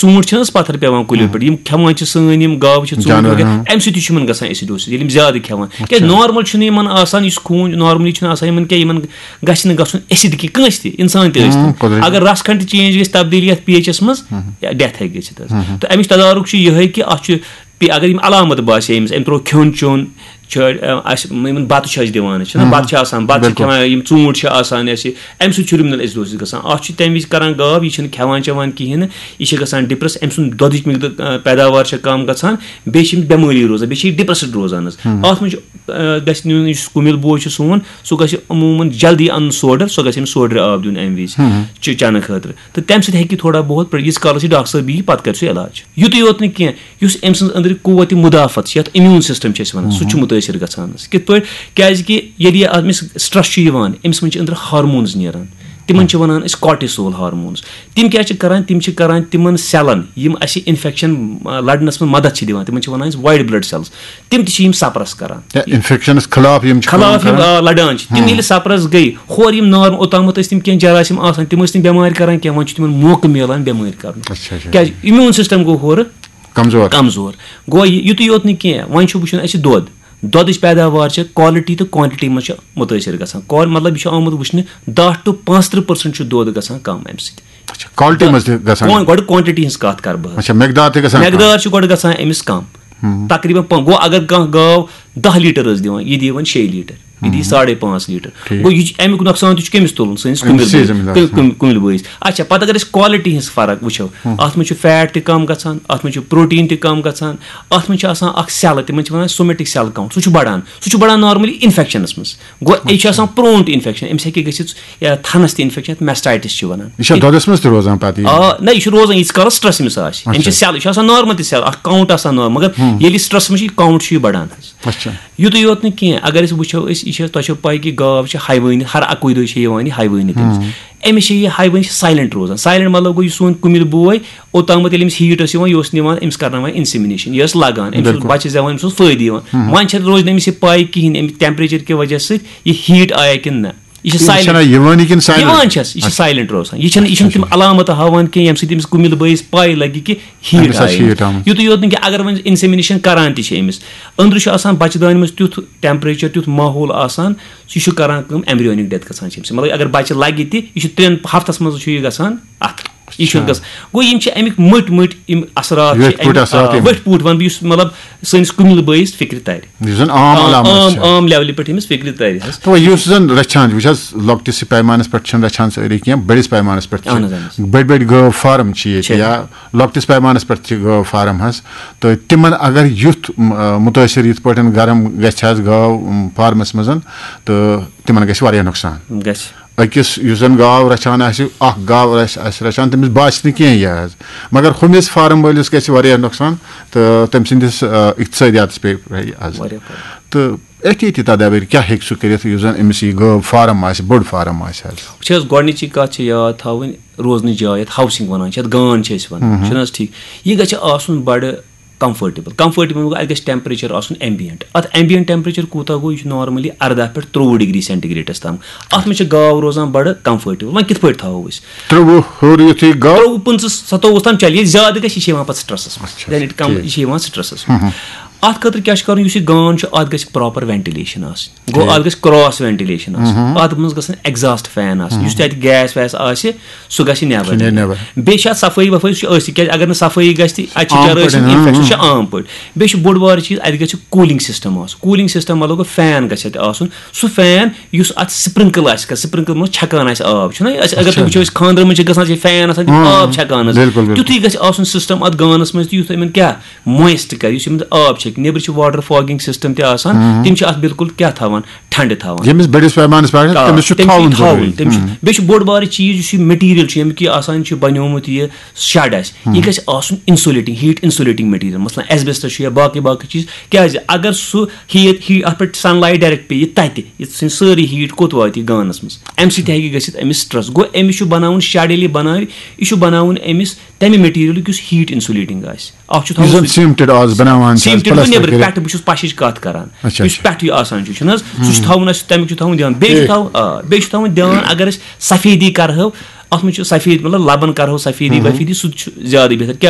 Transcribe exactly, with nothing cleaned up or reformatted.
ژوٗنٛٹھۍ چھِنہٕ حظ پَتھر پٮ۪وان کُلیو پٮ۪ٹھ، یِم کھٮ۪وان چھِ سٲنۍ یِم گاوٕ چھِ، ژوٗنٛٹھۍ جانور، وغیرہ، ہاں۔ اَمہِ سۭتۍ تہِ چھُ یِمن گژھان ایسیڈوسس، ییٚلہِ یِم زیادٕ کھٮ۪وان۔ کیازِ نارمل چھُنہٕ یِمن آسان، یُس خوٗن نارملی چھُنہٕ آسان یِمن کینٛہہ، یِمن گژھِ نہٕ گژھُن ایسڈ کینٛہہ کٲنٛسہِ تہِ، اِنسان تہِ ٲسۍ تن۔ قۄدرٔتی۔ اگر رَس کھنڈ تہِ چینج گژھِ، تبدیٖلی یَتھ پی ایچ اَس منٛز، ڈیتھ ہیٚکہِ گٔژھِتھ حظ۔ تہٕ اَمِچ تدارُک چھُ یِہوٚے کہِ اَتھ چھُ پی-، اگر یِم علامت باسے أمِس، أمۍ ترٛوو کھیوٚن چیوٚن، چھُ، اَ، اَسہِ یِمَن بَتہٕ چھِ اَسہِ دِوان، أسۍ چھِنہ بَتہٕ چھِ آسان، بَتہٕ چھِ کھٮ۪وان، یِم ژوٗنٛٹھۍ چھِ آسان اَسہِ، اَمہِ سۭتۍ چھُ رِمنَل ایسڈوسس گژھان۔ اَتھ چھُ تَمہِ وِزِ کَران گاو، یہِ چھِنہٕ کھٮ۪وان چٮ۪وان کِہیٖنۍ نہٕ، یہِ چھِ گژھان ڈِپرٛس، أمۍ سُنٛد دۄدٕچ مقدار، اَ، پیداوار چھےٚ کَم گژھان، بیٚیہِ چھِ أمِس بٮ۪مٲری روزان، بیٚیہِ چھِ یہِ ڈِپرٛسٕڈ روزان حظ۔ اَتھ منٛز چھُ، اَ، گژھِ نیُن، یُس کُمِل بوے چھُ سون، سُہ گژھِ عموٗماً جلدی اَنُن سوڈَر، سُہ گژھِ أمِس سوڈرِ آب دیُن اَمہِ وِزِ چہِ-، چٮ۪نہٕ خٲطرٕ۔ تہٕ تَمہِ سۭتۍ ہیٚکہِ یہِ تھوڑا بہت پرٛ-، ییٖتِس کالَس یہِ ڈاکٹر صٲب یی، پَتہٕ کَرِ سُہ علاج۔ یُتُے یوت نہٕ کینٛہہ، یُس أمۍ سٕنٛز أنٛدرٕ قوت مدافعت چھِ، یَتھ امیوٗن سسٹم چھِ أسۍ وَنان، سُہ تہِ چھُ مُتٲثر گژھان حظ۔ کِتھ پٲٹھۍ؟ کیٛازِ کہِ ییٚلہِ یہِ أمِس سٹرٛس چھُ یِوان، أمِس منٛز چھِ أنٛدرٕ ہارمونز نیران، تِمن چھِ وَنان أسۍ کارٹیسول ہارمونز۔ تِم کیٛاہ چھِ کران؟ تِم چھِ کران تِمن سیلن، یِم اَسہِ انفیکشن، آ، لڑنس منٛز مدد چھِ دِوان، تِمن چھِ وَنان أسۍ وایٹ بلڈ سیلز۔ تِم تہِ چھِ یِم سپرس کران۔ یا انفیکشنس خلاف یِم چھِ کٲم خلاف یِم، کران۔ آ، لڑان چھِ۔ تِم ییٚلہِ سپرس گٔے، ہورٕ یِم نارم-، اوٚتامَتھ ٲسۍ تِم کینٛہہ جراثیم آسان، تِم ٲسۍ نہٕ بٮ۪مارِ کران کینٛہہ، وۄنۍ چھُ تِمن موقعہٕ میلان بٮ۪مٲرۍ کرنُک۔ اچھا، اچھا۔ کیٛازِ امیوٗن سسٹم گوٚو ہورٕ کمزور۔ کمزور۔ گوٚو یہِ، یُتُے یوت نہٕ کینٛہہ، وۄنۍ چھُ وٕچھُن اَسہِ دۄد۔ دۄدٕچ پیداوار چھِ، quality تہٕ quantity منٛز چھِ مُتٲثر گژھان۔ Qual-، مطلب، یہِ چھُ آمُت وٕچھنہٕ، دَہ to پانٛژترٕٛہ percent چھُ دۄد گژھان کم اَمہِ سۭتۍ۔ اچھا، quality منٛز تہِ گژھان؟ Quan-، گۄڈٕ quantity ہٕنٛز کتھ کرٕ بہٕ حظ۔ اچھا، مقدار تہِ گژھان کم؟ مقدار چھُ گۄڈٕ گژھان أمِس کم۔ تقریباً پا-، گوٚو اگر کانٛہہ گاو دَہ لیٹر ٲس دِوان، یہِ دِوان شیٚیہِ لیٹر، یہِ دی ساڑے پانٛژھ لیٹر۔ ٹھیٖک۔ گوٚو یہِ چھُ، اَمیُک نۄقصان تہِ چھُ کٔمِس تُلُن؟ سٲنِس أمِس کُمِل سۭتۍ بٲیِس۔ زٔمیٖندارَس۔ کُ-، کُم-، کُمِل بٲیِس۔ اچھا، پتہٕ اگر أسۍ quality ہٕنٛز فرق وٕچھو، اتھ منٛز چھُ fat تہِ کم گژھان، اتھ منٛز چھُ protein تہِ کم گژھان، اتھ منٛز چھِ آسان اکھ cell، تِمن چھِ وَنان somatic cell count، سُہ چھُ بڑان، سُہ چھُ بڑان normally infectionس منٛز۔ گوٚو یہِ چھُ آسان prone to infection، أمِس ہیٚکہِ گٔژھِتھ، یا تھنس تہِ infection، یَتھ mastitis چھِ وَنان۔ یہِ چھا دۄدس منٛز تہِ روزان پتہٕ یہِ؟ آ، نہ، یہِ چھُ روزان ییٖتِس کالس stress أمِس آسہِ۔ أمِس چھِ اچھا۔ Cell، یہِ چھُ آسان normal تہِ cell، اکھ count آسان normal، مگر ییٚلہِ stressس منٛز چھُ یہِ count چھُ یہِ بڑان حظ۔ اچھا۔ یُتُے یوت نہٕ کینٛہہ، اگر أسۍ وٕچھو، أسۍ، یہِ چھِ، تۄہہِ چھو پَے کہِ گاو چھِ حیوٲنی، ہر اَکُے دۄہ چھِ یِوان یہِ حیوٲنی تٔمِس۔ أمِس چھِ یہِ حیوٲنی چھِ silent روزان۔ Silent مطلب گوٚو، یہِ سون کُمِل بوے، اوٚتامَتھ ییٚلہِ أمِس heat ٲس یِوان، یہِ اوس نِوان، أمِس کَرناوان insemination، یہِ ٲس لَگان، أمِس اوس بِلکُل۔ بَچہِ زٮ۪وان، أمِس اوس فٲیدٕ یِوان۔ وۄنۍ چھَنہٕ روزِ نہٕ أمِس یہِ پَے کِہیٖنۍ، اَمہِ temperature کہِ وجہ سۭتۍ یہِ heat آیا کِنہٕ نہ۔ یہِ چھِ یہِ silent۔ چھَنہ یِوٲنی کِنہٕ silent؟ یِوان چھَس، یہِ چھِ اچھا۔ Silent روزان۔ یہِ چھَنہٕ، یہِ چھَنہٕ تِم اچھا۔ علامتہٕ ہاوان کینٛہہ، ییٚمہِ سۭتۍ أمِس کُمِل بٲیِس پَے لَگہِ کہِ heat أمِس آسہِ آیہِ۔ Heat آمُت۔ یُتُے یوت نہٕ کینٛہہ، اگر وۄنۍ insemination کَران تہِ چھِ أمِس، أنٛدرٕ چھُ آسان بَچہٕ دانہِ منٛز تیُتھ temperature، تیُتھ ماحول آسان، سُہ چھُ کَران کٲم، embryonic death گژھان چھِ أمِس۔ مطلب، اگر بَچہٕ لَگہِ تہِ، یہِ چھُ ترٛٮ۪ن ہفتَس منٛز چھُ یہِ گژھان اَتھ۔ یہِ چھُ اچھا۔ گژھان۔ گوٚو، یِم چھِ اَمِکۍ مٔٹۍ مٔٹۍ یِم اثرات چھِ ویٹھۍ پٲٹھۍ اَمِکۍ، اثرات آ، یِم۔ ویٹھۍ پٲٹھۍ وَنہٕ بہٕ، یُس، مطلب، سٲنِس کُمِل بٲیِس فِکرِ تَرِ۔ یُس زَن عام آ، علامت عام، چھِ۔ عام levelہِ پٮ۪ٹھ أمِس فِکرِ تَرِ حظ۔ تو یُس زَن رَچھان چھِ، وٕچھ حظ، لۄکٹِس پیمانَس پٮ۪ٹھ چھِنہٕ رَچھان سٲری کینٛہہ، بٔڑِس پیمانَس پٮ۪ٹھ چھِ۔ اہن حظ، اہن حظ۔ بٔڑۍ بٔڑۍ گٲو فارم چھِ ییٚتہِ، چھِ۔ یا لۄکٹِس پیمانَس پٮ۪ٹھ چھِ گٲو فارم حظ۔ تہٕ تِمَن اگر یُتھ، م-، مُتٲثِر یِتھ پٲٹھۍ گرم گژھِ حظ گٲو، م، فارمَس منٛز، تہٕ تِمَن گژھِ واریاہ نۄقصان۔ گژھِ۔ أکِس یُس زَن گاو رَچھان آسہِ، اَکھ گاو آسہِ، آسہِ رَچھان، تٔمِس باسہِ نہٕ کینٛہہ یہِ حظ، مگر ہُمِس فارم وٲلِس گژھِ واریاہ نۄقصان تہٕ تٔمۍ سٕنٛدِس، آ، اقتصٲدیاتَس پیٚیہِ اَثر۔ واریاہ فرق۔ تہٕ أتھی تہِ تدابیر کیٛاہ ہیٚکہِ سُہ کٔرِتھ یُس زَن أمِس یہِ گٲو فارم آسہِ، بٔڑ فارم آسہِ حظ؟ وٕچھ حظ، گۄڈٕنِچی کَتھ چھِ یاد تھاوٕنۍ، روزنٕچ جاے، یَتھ housing وَنان چھِ، یَتھ گان چھِ أسۍ وَنان، ہُم۔ چھُنہٕ حظ ٹھیٖک؟ یہِ گژھِ آسُن بَڑٕ comfortable۔ Comfortable گوٚو، اَتہِ گژھِ temperature آسُن ambient۔ اَتھ ambient temperature کوٗتاہ گوٚو؟ یہِ چھُ normally اَرداہ پٮ۪ٹھ ترٛۆوُہ degree centigradeس تام۔ اَتھ منٛز چھِ گاو روزان بَڑٕ comfortable۔ وۄنۍ کِتھ پٲٹھۍ تھاوو أسۍ؟ ترٛۆوُہ ہیوٚر یُتھُے گوٚو۔ ترٛۆوُہ، پٕنٛژٕہ، ستووُہ تام چَلہِ، ییٚلہِ زیادٕ گژھِ، یہِ چھِ یِوان پَتہٕ stressس منٛز۔ اچھا، then it come، ٹھیٖک۔ یہِ چھِ یِوان stressس منٛز۔ اَتھ خٲطرٕ کیٛاہ چھُ کَرُن؟ یُس یہِ گان چھُ، اَتھ گژھِ proper ventilation آسٕنۍ۔ گوٚو، ٹھیٖک۔ اَتھ گژھِ cross ventilation آسٕنۍ۔ اَتھ منٛز گژھن exhaust fan آسٕنۍ۔ یُس تہِ اَتہِ gas ویس آسہِ، سُہ گژھِ نٮ۪بر۔ سُہ نیرِ نٮ۪بر۔ بیٚیہِ چھِ اَتھ صفٲیی وفٲیی، سُہ چھُ أتھۍ، کیٛازِ اگر نہٕ صفٲیی گژھِ، تہٕ اَتہِ چھِ عام چرٲے پٲٹھۍ، سٕنٛز ہاں، infection، سُہ چھُ ہاں۔ عام پٲٹھۍ۔ بیٚیہِ چھُ بوٚڑ بارٕ چیٖز، اَتہِ گژھِ cooling system آسُن۔ Cooling system مطلب گوٚو، fan گژھِ اَتہِ آسُن۔ سُہ fan یُس اَتھ sprinkle آسہِ کَران، sprinkle منٛز چھَکان آسہِ آب، چھُنہ أسۍ، اگر تُہۍ اچھا۔ وٕچھو، أسۍ خانٛدرَن منٛز چھِ گژھان، چھِ fan آسان، تِم ہاں، آب چھَکان حظ۔ بِلکُل، بِلکُل۔ تیُتھُے گژھِ آسُن system اَتھ گانَس منٛز تہِ، یُتھ یِمَن کیٛاہ moist کَرِ، یُس یِمَن آب چھَکہِ۔ نیٚبرٕ چھِ water fogging system تہِ آسان، تِم چھِ اَتھ بِلکُل کیٛاہ تھاوان؟ ٹھنڈٕ تھاوان۔ ییٚمِس بٔڑِس پیمانَس پٮ۪ٹھ آ، تٔمِس چھُ تٔمِس چھُ تھاوُن تھاوُن، ضروٗری۔ تٔمِس چھُ، بیٚیہِ چھُ بوٚڑ بارٕ چیٖز، یُس یہِ material چھُ، ییٚمیُک یہِ آسان چھُ بَنیومُت، یہِ shed آسہِ، یہِ گژھِ آسُن insulating، heat insulating material، مثلاً asbestos چھُ یا باقٕے باقٕے چیٖز۔ کیٛازِ؟ اگر سُہ heat، heat، اَتھ پٮ۪ٹھ sunlight direct پیٚیہِ تَتہِ، یہِ ژھٕنہِ سٲرٕے heat کوٚت واتہِ یہِ گانَس منٛز؟ اَمہِ سۭتۍ ہیٚکہِ گٔژھِتھ أمِس stress۔ گوٚو، أمِس چھُ بَناوُن shed، ییٚلہِ یہِ بَناوِ، یہِ چھُ بَناوُن أمِس تَمہِ materialُک یُس heat insulating آسہِ۔ اَکھ چھُ یُس تھاوُن زَن سُہ cemented آز بَناوان چھِ، cemented گوٚو، plaster نیٚبرٕ کٔرِتھ۔ پٮ۪ٹھٕ، بہٕ چھُس پَشِچ کَتھ کَران۔ اچھا، یُس اچھا۔ پٮ۪ٹھٕ یہِ آسان چھُ، چھُنہٕ حظ؟ سُہ چھُ تھاوُن اَسہِ، تَمیُک چھُ تھاوُن دھیان۔ بیٚیہِ چھُ ٹھیٖک۔ تھاوُن، آ، بیٚیہِ چھُ تھاوُن دھیان، اگر أسۍ سفیدی کَرہو، اَتھ منٛز چھُ سفید، مطلب، لَبَن کَرہو سفیدی وفیدی، سُہ تہِ چھُ زیادٕ بہتر۔ کیٛازِ؟